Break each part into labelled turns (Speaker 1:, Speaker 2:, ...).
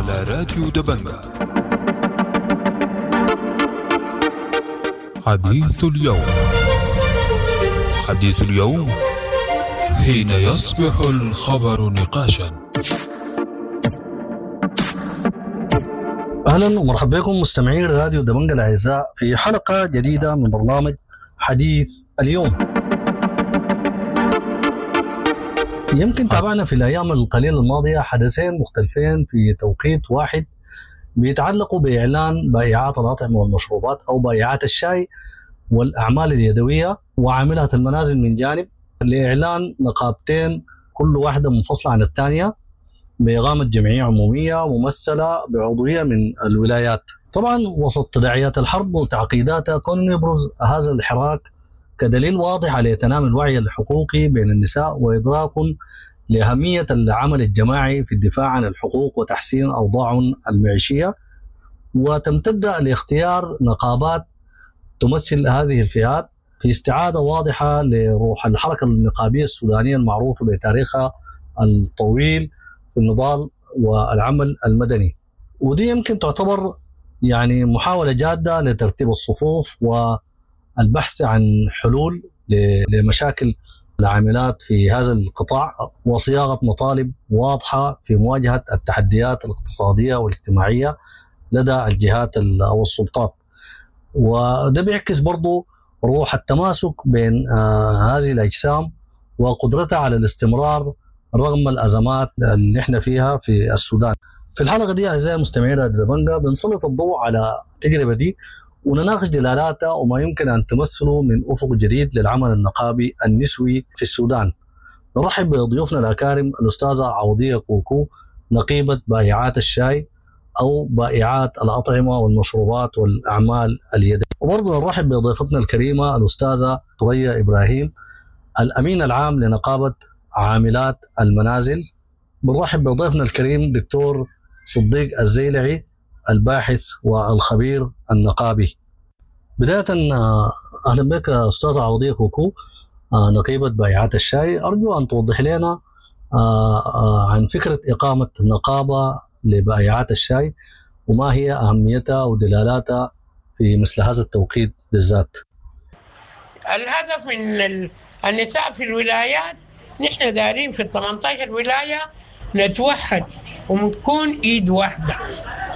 Speaker 1: على راديو دبنجة. حديث اليوم، حديث اليوم حين يصبح الخبر نقاشا.
Speaker 2: اهلا ومرحبا بكم مستمعين راديو دبنجة الاعزاء في حلقة جديدة من برنامج حديث اليوم. يمكن تابعنا في الايام القليلة الماضية حدثين مختلفين في توقيت واحد بيتعلقوا باعلان بائعات الاطعمة والمشروبات او بائعات الشاي والاعمال اليدوية وعاملات المنازل من جانب لاعلان نقابتين كل واحدة منفصلة عن الثانية بإقامة جمعية عمومية ممثلة بعضوية من الولايات. طبعا وسط تداعيات الحرب وتعقيداتها كون يبرز هذا الحراك كدليل واضح على تنامي الوعي الحقوقي بين النساء وإدراك لأهمية العمل الجماعي في الدفاع عن الحقوق وتحسين أوضاعهم المعيشية، وتمتد لاختيار نقابات تمثل هذه الفئات في استعادة واضحة لروح الحركة النقابية السودانية المعروفة بتاريخها الطويل في النضال والعمل المدني. ودي يمكن تعتبر يعني محاولة جادة لترتيب الصفوف والبحث عن حلول لمشاكل العاملات في هذا القطاع وصياغة مطالب واضحة في مواجهة التحديات الاقتصادية والاجتماعية لدى الجهات أو السلطات. وده بيعكس برضو روح التماسك بين هذه الأجسام وقدرتها على الاستمرار رغم الأزمات اللي احنا فيها في السودان. في الحلقة دي أعزائي المستمعين راديو دبنجة بنسلط الضوء على التجربة دي ونناقش دلالاتها وما يمكن أن تمثله من أفق جديد للعمل النقابي النسوي في السودان. نرحب بضيوفنا الأكارم الأستاذة عوضية كوكو، نقيبة بائعات الشاي أو بائعات الأطعمة والمشروبات والأعمال اليدوية. وبرضه نرحب بضيفتنا الكريمة الأستاذة ثريا إبراهيم، الأمين العام لنقابة عاملات المنازل. بنرحب بضيفنا الكريم دكتور صديق الزيلعي، الباحث والخبير النقابي. بداية أهلا بك أستاذة عوضية كوكو، نقيبة بائعات الشاي. أرجو أن توضح لنا عن فكرة إقامة نقابة لبائعات الشاي وما هي أهميتها ودلالاتها في مثل هذا التوقيت بالذات.
Speaker 3: الهدف من النساء في الولايات، نحن دارين في 18 ولاية نتوحد ونكون ايد واحدة،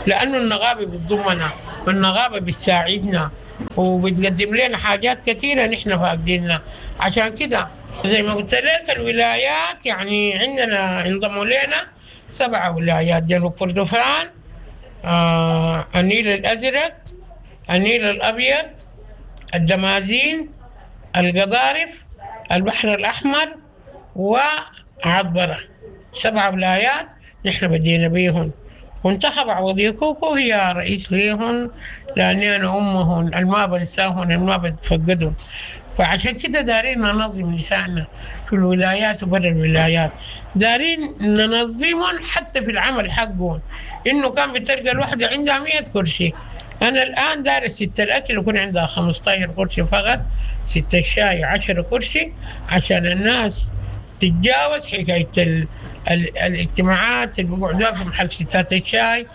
Speaker 3: لأنه النقابة بتضمنا والنقابة بتساعدنا وبتقدم لنا حاجات كثيرة نحن فاقدينها. عشان كده زي ما قلت لك الولايات يعني عندنا انضموا لنا 7 ولايات: جنوب كردفان، النيل الأزرق، النيل الأبيض، الدمازين، القضارف، البحر الأحمر، وعطبرة. 7 ولايات نحن بدينا بيهن، وانتخب عوضية كوكو هي رئيس ليهن، لأني أنا أمهن الما بنساهن الما بتفقدهن. فعشان كده دارين ننظم نسائنا في الولايات وبرا الولايات، دارين ننظمهم حتى في العمل حقهم. إنه كان بتلقى الوحدة عندها 100 كرسي، أنا الآن دارس ست الأكل يكون عندها 15 كرسي فقط، ست الشاي 10 كرسي، عشان الناس تتجاوز حكاية الاجتماعات اللي بيقعدوها في محل ستات الشاي،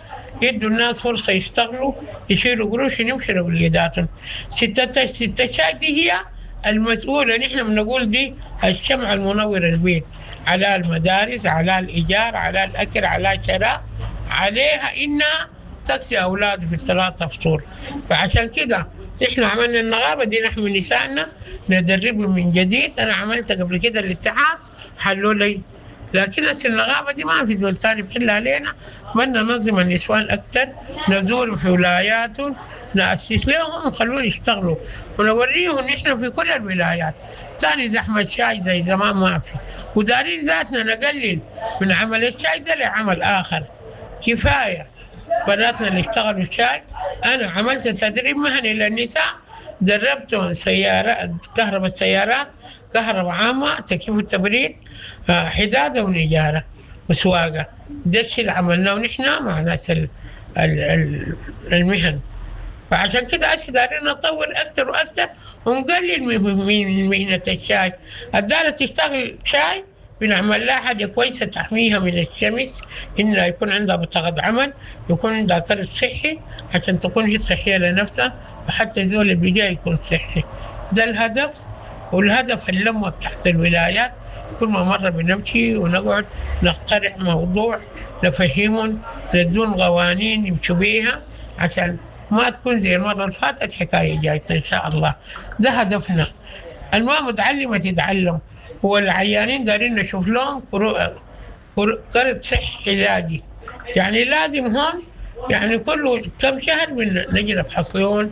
Speaker 3: يدوا الناس فرصة يشتغلوا، يشيلوا قروش يمشوا لوليداتهم. ست الشاي دي هي المسؤولة، نحن بنقول دي الشمعة المنورة البيت، على المدارس، على الإيجار، على الأكل، على الشراء، عليها إنها تكسي أولاده في الثلاثة فصول. فعشان كده نحن عملنا النقابة دي، نحن نسائنا ندربهم من جديد. أنا عملت قبل كده الاتحاد حلوا لي، لكن النقابة دي ما في زول تاني بحل علينا. بدنا ننظم النسوان أكثر، نزور في ولاياتهم، نأسس لهم ونخلوهم يشتغلوا ونوريهم نحن في كل الولايات. تاني زحمة شاي زي زمان ما في، ودارين ذاتنا نقلل من عمل الشاي ده لعمل آخر. كفاية بناتنا اللي اشتغلوا الشاي. أنا عملت تدريب مهني للنساء، دربتهم سيارات، كهرباء السيارات، كهرباء عامة، تكييف التبريد، حدادة ونجارة وسواقة. ده الشيء اللي عملناه نحن مع ناس المهن. فعشان كده هسه دارين نطور أكثر وأكثر ونقلل من مهنة الشاي. الدارة تشتغل شاي بنعمل لها حاجة كويسة تحميها من الشمس، إنها يكون عندها بطاقة عمل، يكون عندها كرت صحي عشان تكون هي صحية لنفسها، وحتى الزول اللي بيجي يكون صحي. ده الهدف، والهدف اللمة تحت الولايات. كل ما مرة بنمشي ونقعد نقترح موضوع، نفهمهم، ندون قوانين يمشوا بيها عشان ما تكون زي المرة اللي فاتت حكاية جاية إن شاء الله. ده هدفنا. الما متعلمة تتعلم، والعيانين دارين نشوف لهم كرت صحي علاجي، يعني لازم هون يعني كل كم شهر نجي نفحص لهم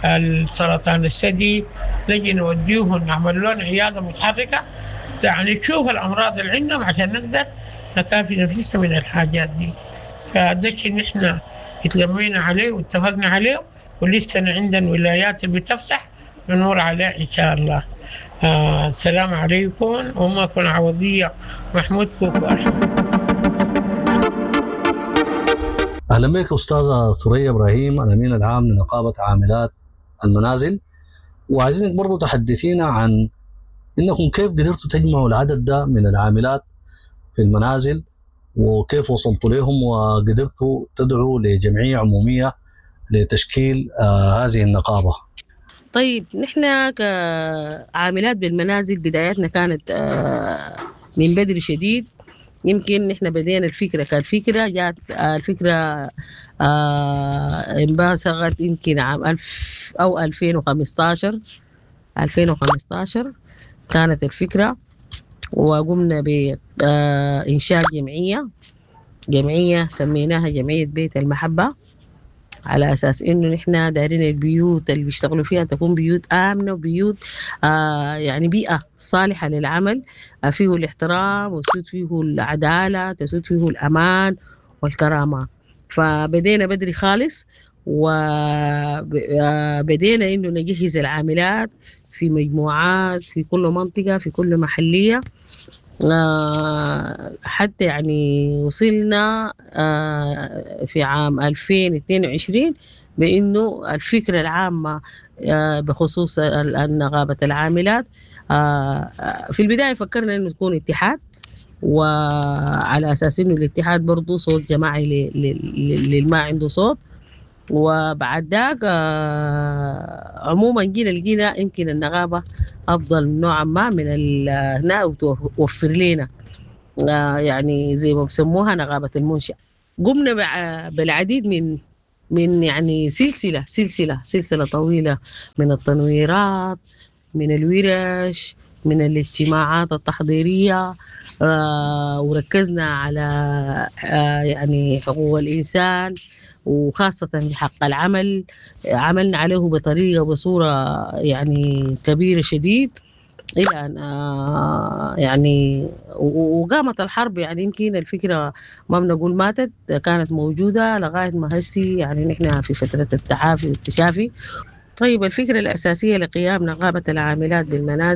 Speaker 3: السرطان الثدي، نجي نوديهم نعمل لهم عيادة متحركة، يعني تشوف الأمراض اللي عندهم عشان نقدر نكافي نفسنا من الحاجات دي. فده الشيء نحن اتلمينا عليه واتفقنا عليه، ولسه عندنا ولايات اللي بتفتح بنمر عليه إن شاء الله. السلام عليكم، وما كن عوضية محمود كوكو أحمد.
Speaker 2: أهلا بك أستاذة ثريا إبراهيم، الأمين العام لنقابة عاملات المنازل، وعايزينك برضو تحدثينا عن إنكم كيف قدرتوا تجمعوا العدد ده من العاملات في المنازل، وكيف وصلتوا لهم وقدرتوا تدعوا لجمعية عمومية لتشكيل هذه النقابة.
Speaker 4: طيب، نحن كعاملات بالمنازل بدايتنا كانت من بدري شديد. يمكن نحن بدينا الفكرة، كالفكرة جات الفكرة انبثقت يمكن عام ألف أو ألفين وخمستاشر، ألفين وخمستاشر كانت الفكرة، وقمنا ب إنشاء جمعية سميناها جمعية بيت المحبة، على أساس إنه نحن دايرين البيوت اللي بيشتغلوا فيها تكون بيوت آمنة، وبيوت يعني بيئة صالحة للعمل، فيه الاحترام وتسود فيه العدالة، تسود فيه الأمان والكرامة. فبدينا بدري خالص، وبدينا إنه نجهز العاملات في مجموعات في كل منطقة في كل محلية، حتى وصلنا في عام 2022 بأنه الفكرة العامة بخصوص نقابة العاملات. في البداية فكرنا أنه تكون اتحاد، وعلى أساس أنه الاتحاد برضو صوت جماعي للما عنده صوت. وبعد ذاك عموما جينا لقينا يمكن النقابة أفضل نوعا ما من هنا، وتوفر لنا زي ما بسموها نقابة المنشأ. قمنا بالعديد من سلسلة طويلة من التنويرات، من الورش، من الاجتماعات التحضيرية، وركزنا على حقوق الإنسان وخاصة حق العمل. عملنا عليه بطريقة وبصورة كبيرة شديد إلى أن وقامت الحرب. يمكن الفكرة ما بنقول ماتت، كانت موجودة لغاية ما هسي نحن في فترة التعافي والتشافي. الفكرة الأساسية لقيام نقابة العاملات بالمنازل